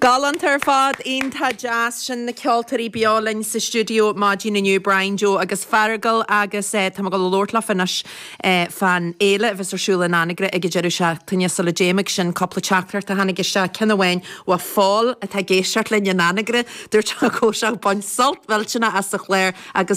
Galánta ar fad, iontach deas. Sin na ceoltóirí beo linn sa stiúideo maidin inniu, Brian Joe agus Feargal agus tá mé ag dul a labhairt leofa anois fán fhéile a bheas ar siúl in Anagaire ag an deireadh seachtaine sula dtéim ag sin cúpla teachtaireacht a tháinig isteach, ceann amháin ó Phól atá ag éisteacht linn in Anagaire, dúirt sé go raibh sé ag baint sult mhillteanach as an chlár agus.